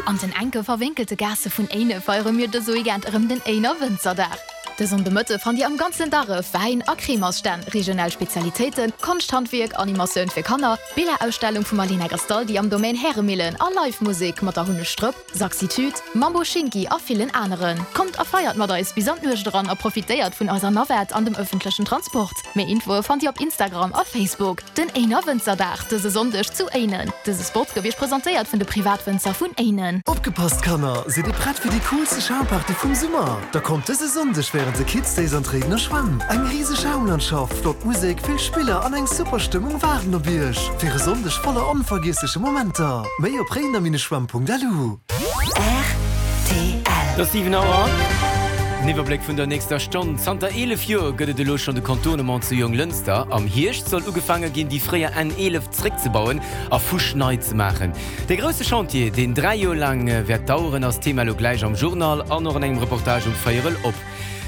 An den enke verwénkelte Gaasse vun Éine feiere mir dëse Weekend erëm den Éiner Wënzerdag. De Sonndemëtte fannt Dir am ganzen Darref Wäin a Cremersstänn, regional Spezialitéiten, Konschthandwierk, Animatioun fir Kanner, Billerausstellung vum Alina Gastaldi am Domaine Häremillen a Live Musek mat der Hunnesch Strëpp, Saxitude, Mambo Shinki a villen aneren. Kommt a feiert mat eis bis an d'Nuecht eran a profitéiert vun eiser Navette an dem ëffentlechen Transport. Méi Infoe fannt Dir op Instagram a Facebook. Den Éiner Wënzerdag dëse Sonndeg zu Éinen. Dëse Spot gouf Iech presentéiert vun de Privatwënzer vun Éinen. Opgepasst Kanner, sidd dir prett fir déi coolste Schaumparty vum Summer? Da kommt dëse Sonndeg wärend de Kids Days an d'Réidener Schwämm. Eng riseg Schaumlandschaft, flott Musek, vill Spiller an eng super Stëmmung waarden op iech fir e Sonndeg voller onvergiessleche Momenter. Méi op réidener-schwemm.lu. Rtl. Et ass 7 Auer. Den Iwwerbléck vun der nächster Stonn. Zanter 11 Joer gëtt et elo schonn de Contournement zu Jonglënster. Am Hierscht soll ugefaange ginn, déi fréier N 11 zréckzebauen a fuschnei ze maachen. Dee grousse Chantier, deen 3 Joer laang wäert daueren, ass Thema elo gläich am Journal an och an engem Reportage um Véierel op.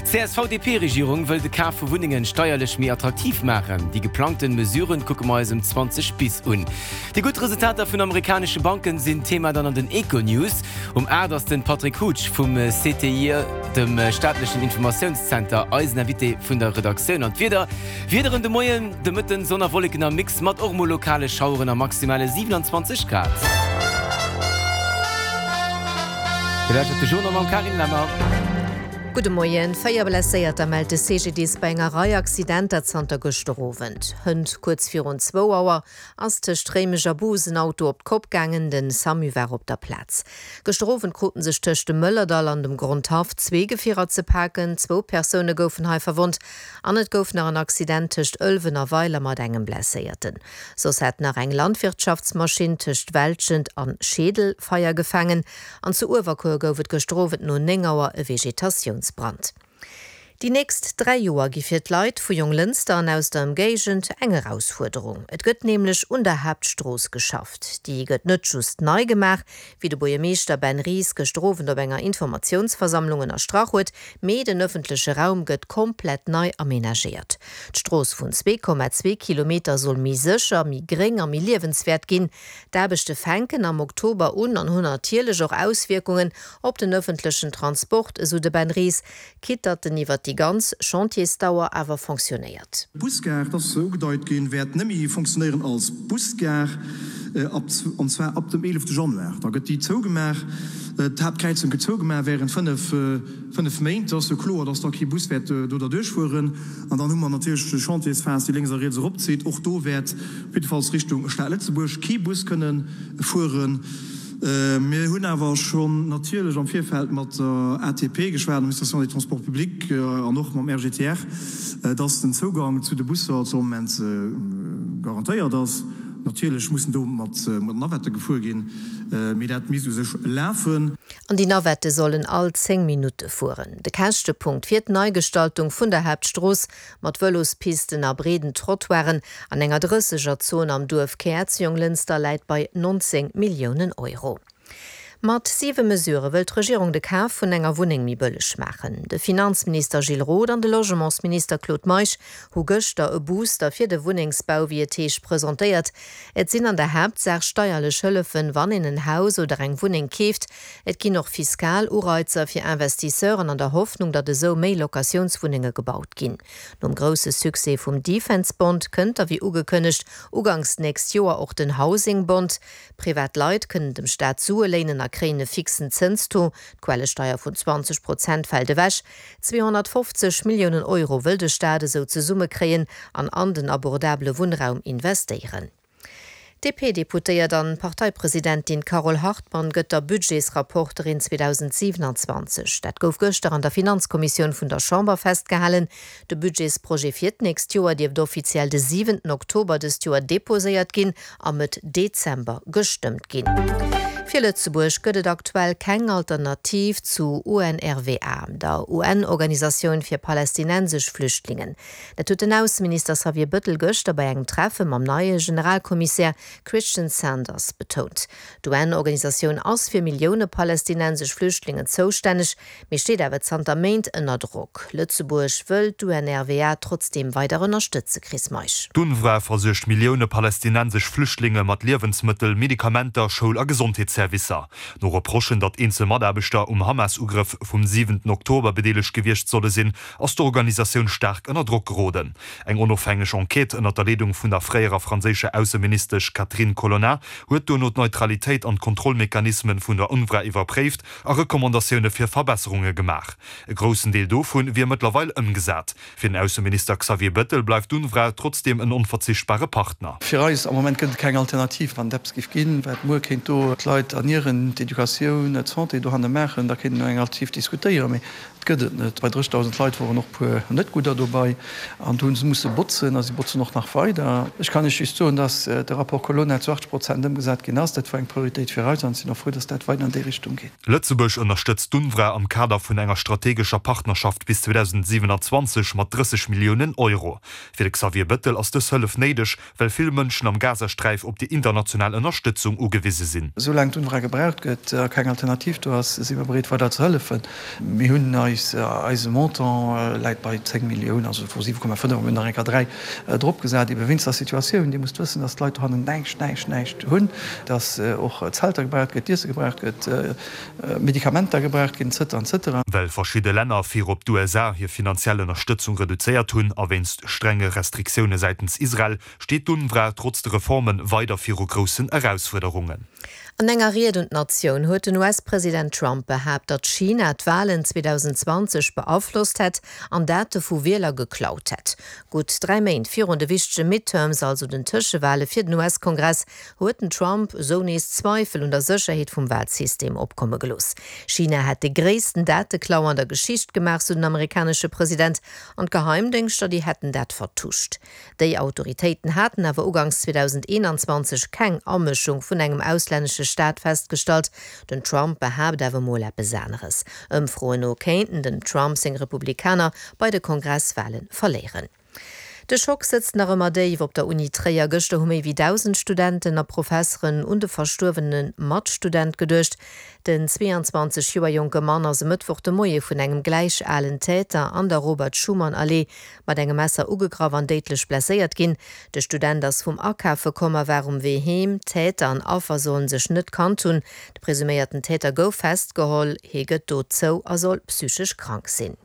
D'CSV-DP-Regierung wëll de Kaf vu Wunnengen steierlech méi attraktiv maachen. Déi geplangten Mesuren kucke mer eis um 20 bis un. Déi gutt Resultater vun amerikanesche Banken sinn Thema dann an den Econews. Um 8 ass den Patrick Hutsch vum CTIE, dem staatlechen Informatiounszenter, eisen Invité vun der Redaktioun. An d'Wieder Wiederen de Moien, de Mëtten Sonn a Wolleken am Mix mat och mol lokale Schaueren a maximale 27 Grad. Dir lauschtert de Journal mam Carine Lemmer. Gudde Moien. 4 Blesséierter mellt de CGDIS bei enger Rei Accidenter zanter gëschter Owend. Hënt kuerz virun zwou Auer ass tëscht Réimech a Bous en Auto op d'Kopp gaangen. Den Samu war op der Plaz. Gëschter Owend kruten sech tëscht dem Mëllerdall an dem Grondhaff zwee Gefierer ze paken. Zwou Persoune goufen hei verwonnt an et gouf nach en Accident tëscht Ëlwen a Weiler mat engem Blesséierten. Soss hat nach eng Landwirtschaftsmaschinn tëscht Welschent an Scheedel Feier gefaangen. An zu Uewerkuer gouf et gëschter Owend no 9 Auer e Vegetatiounsbrand. Déi nächst 3 Joer gi fir d'Leit vu Jonglënster an aus der Ëmgéigend eng Erausfuerderung. Et gëtt nämlech un der Haaptstrooss geschafft. Déi gëtt net just nei gemaach, wéi de Buergermeeschter Ben Ries gëschter Owend op enger Informatiounsversammlung ënnerstrach huet, mee den ëffentleche Raum gëtt komplett nei amenagéiert. D'Strooss vun 2,2 Kilometer soll méi sécher, méi gréng a méi liewenswäert ginn. D'Aarbechte fänken am Oktober un an hunn natierlech och Auswierkungen op den ëffentlechen Transport, esou de Ben Ries, quitte datt en iwwer déi ganz Chantiersdauer awer fonctionnéiert. D'Busgare, et ass ugedeit ginn, wäert net méi fonctionnéieren als Busgare, an zwar ab dem 11 Januar. Da gëtt déi zougemaach, d'Haaptkräizung gëtt zougemaach während 5 Méint. Et ass jo kloer, dass da kee Bus wäert do derduerch fueren. An dann hu mer natierlech d'Chantiersphas, déi lénks a riets eropzitt. Och do wäert op jiddefalls Richtung Stad Lëtzebuerg kee Bus kënne fueren. Mir hunn awer schonn natierlech am Virfeld mat der ATP geschwat, Administration des Transports publics, an och mam RGTR, dass den Zougang zu de Busser zu all Moment garantéiert ass. Natierlech mussen do mat Navette gefuer ginn, mee dat misst u sech lafen. An déi Navette sollen all 10 Minutte fueren. De Käschtepunkt fir d'Neigestaltung vun der Haaptstrooss Mat Vëlospisten a breeden Trottoiren an enger Drëssegerzon am Duerfkär zu Jonglënster läit bei 19 Milliounen Euro. Mat siwe Mesurë wëll d'Regierung de Kaf vun enger Wunneng méi bëlleg maachen. De Finanzminister Gilles Roth an de Logementsminister Claude Meisch hu gëschter e Booster fir de Wunnengsbau, wéi et heescht, presentéiert. Et sinn an der Haaptsaach steierlech Hëllefen, wann een en Haus oder eng Wunneng keeft. Et ginn och fiskal Ureizer fir Investisseuren an der Hoffnung, datt esou méi Locatiounswunnenge gebaut ginn. Nom grousse Succès vum Defence Bond kënnt da wéi ugekënnegt uganks d'nächst Joer och den Housing Bond. Privat Leit kënnen dem Staat Sue léinen a kréien e fixen Zënstaux. D'Quellesteier vun 20 Prozent fält ewech. 250 Milliounen Euro wëll de Staat esou zesummekréien an an den abordabele Wunnraum investéieren. D'DP-Deputéiert an Parteipresidentin Carole Hartmann gëtt der Budgetsrapporterin 2027. Dat gouf gëschter an der Finanzkommissioun vun der Chamber festgehalen. De Budgetsprojet fir d'nächst Joer dierft offiziell de siwenten Oktober dëst Joer deposéiert ginn a Mëtt Dezember gestëmmt ginn. Fir Lëtzebuerg gëtt et aktuell keng Alternativ zu UNRWA, der UN-Organisatioun fir palästinensesch Flüchtlingen. Dat huet den Ausseminister Xavier Bëttel gëschter bei engem Treffe mam neie Generalkommissär Christian Sanders betount. D'UN-Organisatioun ass fir Millioune palästinensesch Flüchtlingen zoustänneg, mee steet awer zanter Méint ënner Drock. Lëtzebuerg wëll d'UNRWA trotzdeem weider ënnerstëtze, Chris Meisch. D'UNRWA versuergt Millioune palästinensesch Flüchtlinge mat Liewensmëttel, Medikamenter, Schoul a Gesondheetsservicer. Noriichteservicer. No Reprochen, datt eenzel Mataarbechter um Hamas-Ugrëff vum siwenten Oktober bedeelegt gewiescht solle sinn, ass d'Organisatioun staark ënner Drock geroden. Eng onofhängeg Enquête ënner der Leedung vun der fréierer franséischer Ausseministesch Catherine Colonna huet duerno d'Neutralitéit an d'Kontrollmechanismen vun der UNRWA iwwerpréift a Recommandatioune fir Verbesserunge gemaach. E groussen Deel dovu wier mëttlerweil ëmgesat. Fir den Ausseminister Xavier Bettel bleift d'UNRWA trotzdeem en onverzichtbare Partner. Fir eis am Moment gëtt et keng Alternativ. Wann et eppes géif ginn, wat muer kéint do d'Leit ernieren, d'Educatioun, d'Santé dohanne maachen, da kéint een eng Alternativ diskutéieren. Mee et gëtt et net. Bei 30.000 Leit woren och e puer net gudder dobei an do hu se musse botzen a si botzen och nach weider. Ech kann Iech just soen, dass de Rapport Colonna zu 80 Prozent ëmgesat ginn ass. Dat war eng Prioritéit fir eis an ech sinn och frou, dass dat weider an déi Richtung geet. Lëtzebuerg ënnerstëtzt d'UNRWA am Kader vun enger strategescher Partnerschaft bis 2027 mat 30 Milliounen Euro. Fir de Xavier Bettel ass dës Hëllef néideg, well vill Mënschen am Gazasträif op déi international Ënnerstëtzung ugewise sinn. Soulaang d'UNRWA gebraucht gëtt a keng Alternativ do ass, si mer bereet weider ze hëllefen. Mir hunn eis, eise Montant läit bei 10 Milliounen, also vu 7,5 a mir hunn nach eng Kéier 3 dropgesat, ebe wéinst der Situatioun. Dir musst wëssen, datt d'Leit dohannen näischt, näischt, näischt hunn, datt och Zelter gebraucht gëtt, Iesse gebraucht gëtt, Medikamenter gebraucht ginn, et cetera, et cetera. Well verschidde Länner, virop d'USA, hir finanziell Ënnerstëtzung reduzéiert hunn a wéinst strenge Restriktioune säitens Israel, steet d'UNRWA trotz de Reforme weider viru groussen Erausfuerderungen. An enger Ried un d'Natioun huet den US-President Trump behaapt, datt China d'Walen 2020 beaflosst hätt an Date vu Wieler geklaut hätt. Gutt 3 Méint virun de wichtege Midterms, also den Tëschewale fir den US-Kongress, huet den Trump esou nees Zweifel un der Sécherheet vum Walsystem opkomme gelooss. China hätt de gréissten Dateklau an der Geschicht gemaach, sou den amerikanesche President, an d'Geheimdéngschter, déi hätten dat vertuscht. Déi Autoritéiten haten awer uganks 2021 keng Amëschung vun engem auslännesche Staat festgestallt. Den Trump behaapt awer mol eppes aneres. Ëmfroen no kéinten dem Trump seng Republikaner bei de Kongresswale verléieren. De Schock sëtzt nach ëmmer déif op der Uni Tréier. Gëschter hu méi wéi 1.000 Studenten a Professeren un de verstuerwene Matstudent geduecht. Den 22 Joer jonke Mann ass e Mëttwoch de Moie vun engem gläich alen Täter an der Robert-Schuman-Allee mat engem Messer ugegraff an déidlech blesséiert ginn. De Student ass vum Akafe komm a war um Wee heem. Täter an Affer sollen sech net kannt hunn. De presuméierten Täter gouf festgeholl. Hie gëtt do zou a soll psychesch krank sinn.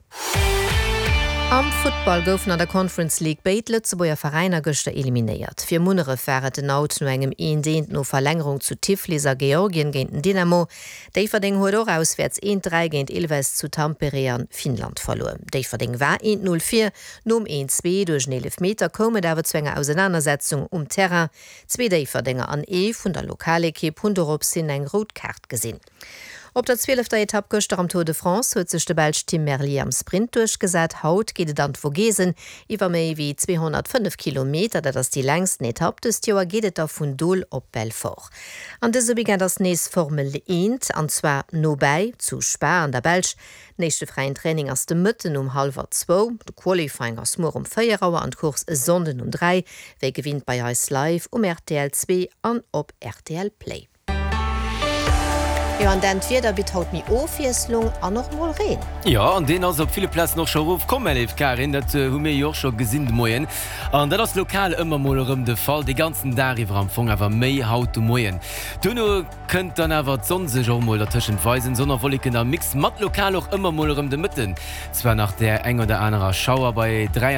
Am Futtball goufen an der Conference League béid Lëtzebuerger Veräiner gëschter eliminéiert. Fir Munneref war et den Out no engem eent eent no Verlängerung zu Tiflis a Georgien géint den Dynamo. Déifferdeng huet och auswäerts eent 3 géint Ilves zu Tampere an Finnland verluer. Déifferdeng war eent 0 vir. Nom eent 2 duerch en Eelefmeter koum et awer zu enger Ausenanersetzung um Terrain. Zwee Déifferdenger an ee vun der Lokalekipp hunn dorops hin eng rout Kaart gesinn. Op der zwielefter Etapp gëschter am Tour de France huet sech de Belsch Tim Merlier am Sprint duerchgesat. Haut geet et an d'Vogesen iwwer méi wéi 205 Kilometer. Dat ass déi längsten Etapp dëst Joer. Geet et da vun Dole op Belfort. An dëse Weekend ass nees Formel 1, an zwar nobäi, zu Spa an der Belsch. Den éischte fräien Training ass de Mëtten um hallwer zwou, de Qualifying ass muer um 4 Auer an d'Course e Sonnden um 3, wéi gewinnt bei eis live um rtl 2 an op rtl Play. Jo, an Dan, d'Wieder bitt haut méi Ofwiesslung an och mol Reen. Jo, an deen ass op ville Plazen och scho erofkomm, mä léif Karin, dat hu mir jo och scho gesinn de Moien. An dat ass lokal ëmmer mol erëm de Fall, de ganzen Dag iwwer am Fong, awer méi haut de Moien. Duerno kënnt dann awer d'Sonn sech och mol dertëschent weisen, Sonn a Wolleken am Mix mat lokal och ëmmer mol erëm de Mëtten zwar nach där eng oder anerer Schauer bei 23.